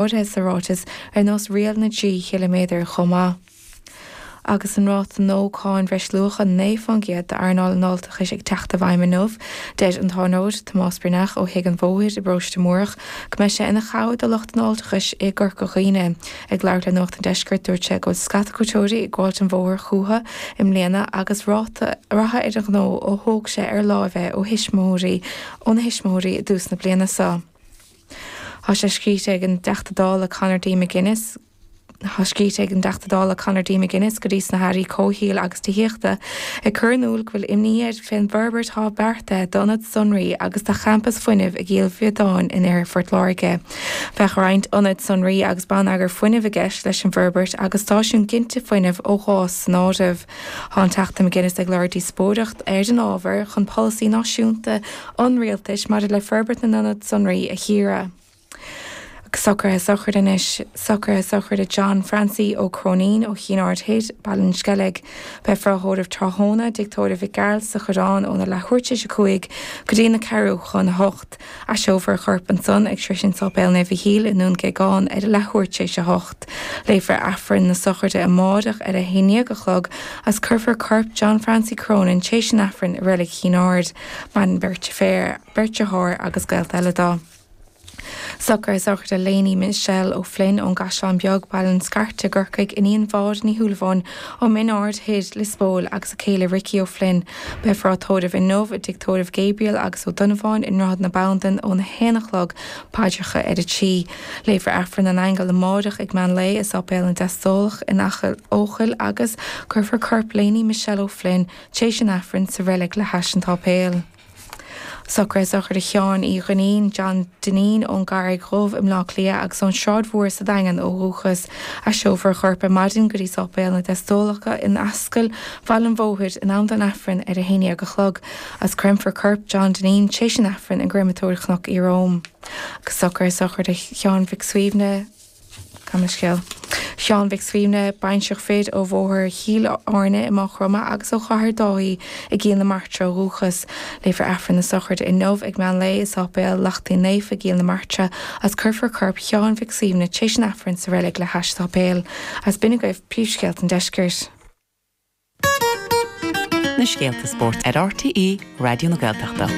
Áirithe sa ráiteas ar nós riail na dtrí chiliméadar chomh maith. Agus an ráta nua cáin bhreisluacha 9% d'earnáil an fháilteachais ag teacht i bhfeidhm inniu, deir an t-iarnróid Tomás Breathnach ó Thigh an Bhóthair i bparóiste Múrach go mbeidh sé ina chabhair do lucht an fháilteachais i gCorca Dhuibhne. Ag labhairt le Nuacht an Deiscirt dúirt sé go bhfuil scata cuairteoirí ag gabháilt an bhóthair chúthu i mbliana agus rath ar an ghnó ó thóg sé ar láimh é ó thuismitheoirí óna thuismitheoirí i dtús na bliana seo. Tá sé scríte ag an dTeachta Dála Conor D. McGuinness Tá scríte ag an dTeachta Dála Conor D. McGuinness go dtí sna hAirí Comhshaoil agus Tithíochta ag cur in iúl go bhfuil imní air fén bhforbairt atá beartaithe d'ionad sonraí agus do champas fuinnimh i gCill Bhiodáin in oirthear Phort Láirge. Bheadh roinnt ionad sonraí agus bonneagar fuinnimh i gceist leis an bhforbairt agus stáisiún ginte fuinnimh ó ghás san áireamh. Tá an Teachta McGuinness ag lorg díospóireacht ar an ábhar chun polasaí náisiúnta an Rialtais maidir le forbairt na n-ionad sonraí a chíoradh. Socruithe sochraide anois. Socruithe sochraide John Francie Ó Cróinín ó Chinn Aird Thoir, Baile an Sceilg. Beifear á thórramh tráthnóna i dTigh Tórraimh Mhic Gearailt sa Choireán óna leathuair tar éis a 5 go dtí na ceathrú chun a hocht. Eiseofar a chorp ansan ag sroisint Sáipéal Naomh Mhichíl i nDún Géagáin ar a leathuair tar éis a hocht. Léifear Aifreann na sochraide amáireach ar a haon dhéag a chlog agus cuirfear corp John Francie Cronin tar éis an Aifrinn i Reilig Chinn Aird. Maireann beirt deirféar, beirt deartháir agus gaolta eile dó. Socruithe sochraide Léiní Michelle O'Flynn ón gCaisleán Beag, Baile an Scairte i gCorcaigh, iníon Mháire Ní Shúilleabháin ó Mhin Aird Thoir, Lios Póil agus a céile Ricky O'Flynn. Beifear á tórramh inniu i dTigh Tórraimh Gabriel agus Ó Donnabháin i nDroichead na Bandan óna haon a chlog, paidreacha ar a trí. Léifear Aifreann na nAingeal amáireach ag meán lae i Sáipéal na dTeastalach in Achadh Eochaill agus cuirfear corp Léiní Michelle O'Flynn Tar éis an Aifrinn sa reilig le hais an tsáipéil. Socruithe sochraide Sheáin Uí Dhuinnín, John Dineen, ón gCarraig Dhubh i mBleá Cliath agus ón Sráid Mhór sa Daingean ó dhúchas. Eiseofar a chorp ar maidin go dtí Sáipéal na dTeastólacha in Ascaill Bhaile an Bhóthair in am don Aifreann ar a haon dhéag a chlog agus creimfear corp John Dineen tar éis an Aifrinn i gCréamatóir Chnoc Iaróm. Agus socruithe sochraide Sheáin Mhic Suibhne. Gabh mo leithscéal. Sheáin Mhic Suibhne, baintreach fir ó Bhóthar Chill Airne i Maigh Chromtha agus ó Chathair Dáithí i gCill na Martra ó dhúchas. Léifear Aifreann na sochraide inniu ag meán lae i Sáipéal Lachtaín Naofa i gCill na Martra agus cuirfear corp Sheáin Mhic Suibhne tar éis an Aifrinn sa reilig le hais an tsáipéil. Agus b'in agaibh príomhscéalta an deiscirt. Na scéalta spóirt ar RTÉ Raidió na Gaeltachta.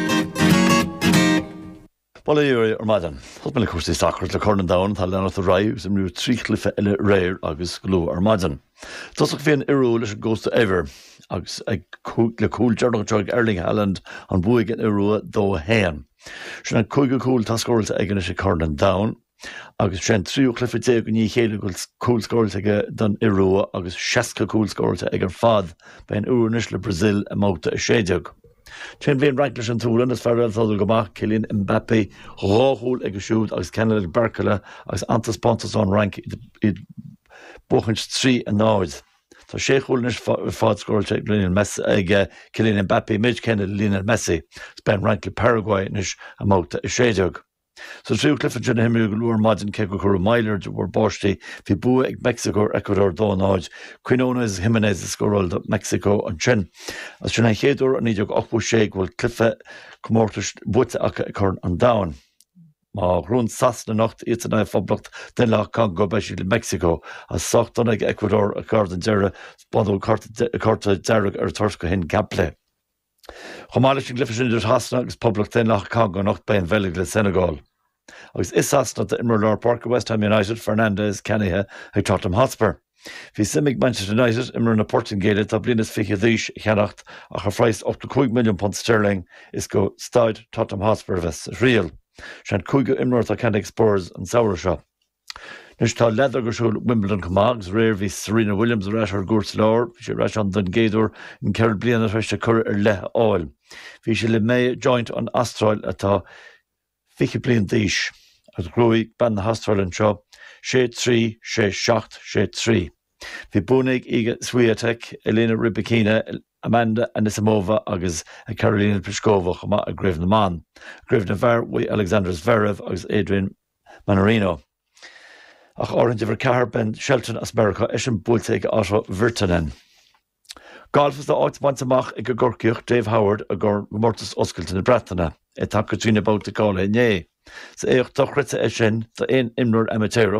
Bail ó Dhia oraibh ar maidin. Tosóidh mé le cúrsaí sacair le Corn an Domhain atá ag leanacht ar aghaidh agus imríodh 3 chluiche eile aréir agus go luath ar maidin. I dtosach bhí an Iorua leis an gcósta Eibhir agus le cúl deireanach anseo ag Erling Haaland an bua ag an Iorua 2-1. Sin an cúigiú cúl atá scóráilte aige anois ag Corn an Domhain. Agus sé an tríú cluiche i ndiaidh a chéile go bhfuil cúl scóráilte aige don Iorua agus 60 cúl scóráilte aige ar fad. Beidh an Iorua anois le Brazil i mbabhta 16. Ansin bhí an Fhrainc leis an tSualainn, is fear eile atá ag dul go maith, Kylian Mbappé, dhá chúl aige siúd agus ceann eile ag Barcola agus an-taispeántas ón Fhrainc, iad ag buachaint 3 a 0. Tá sé chúl anois ar fad scóráilte ag Lionel Messi, ag Kylian Mbappé, méid céanna le Lionel Messi. Is beidh an Fhrainc le Paraguay anois i mbabhta 16. Sa tríú cluiche ansin a himríodh go luath ar maidin, cé gur cuireadh moill air de bharr báistí, bhí bua ag Meicsiceo ar Ecuador 2, 0. Quinones agus Jimenez a scóráil do Mheicsiceo ansin. Agus sin an chéad uair ó 1986 go bhfuil cluiche comórtais buaite acu ag Corn an Domhain. Má ghnóthaíonn Sasana anocht, iadsan in aghaidh Phoblacht Daonlathach Congo, beidh siad le Meicsiceo. Agus sách dona ag Ecuador gar don deireadh, baineadh cárta dearg ar an toirt do Hincapie. Chomh maith leis an gcluiche sin idir Shasana agus Poblacht Daonlathach Congo anocht beidh an Bheilg le Senegal. Agus i Sasana tá imreoir lár páirce West Ham United, Fernandes, ceannaithe ag Tottenham Hotspur. Bhí suim ag Manchester United imreoir na Portaingéile atá bliain is fiche d'aois a cheannacht ach ar phraghas 85 milliún punt sterling is go staid Tottenham Hotspur a bheas a thriall. Sé an cúigiú imreoir atá ceannaithe ag Spurs an samhradh seo. Anois tá leadóg ar siúl i Wimbledon chomh maith agus aréir bhí Serena Williams ar ais ar an gcúirt láir. Bhí sí ar ais ann don gcéad uair in 4 bliana tar éis di cuireadh ar leith a fháil. Bhí sí le Maya Joint ón Astráil atá 20 bliain d'aois agus ghnóthaigh bean na hAstráile anseo 6 3, 6 7, 6 3. Bhí buanna ag Iga Swiatek, Elena Rybakina, Amanda Anisimova agus Karolina Pliskova chomh maith i gcraobh na mban. I gcraobh na bhfear bhuaigh Alexander Zverev agus Adrian Mannarino. Ach áirithint uimhir 4, Ben Shelton as Meiriceá, eisean buailte ag Otto Virtanen. Galf is tá áit bainte amach ag an gCorcaíoch Dave Howard i gComórtas Oscailte na Breataine, é tagtha trína babhta cáilithe inné. Is éacht dochreidte é sin d'aon imreoir amaitéarach.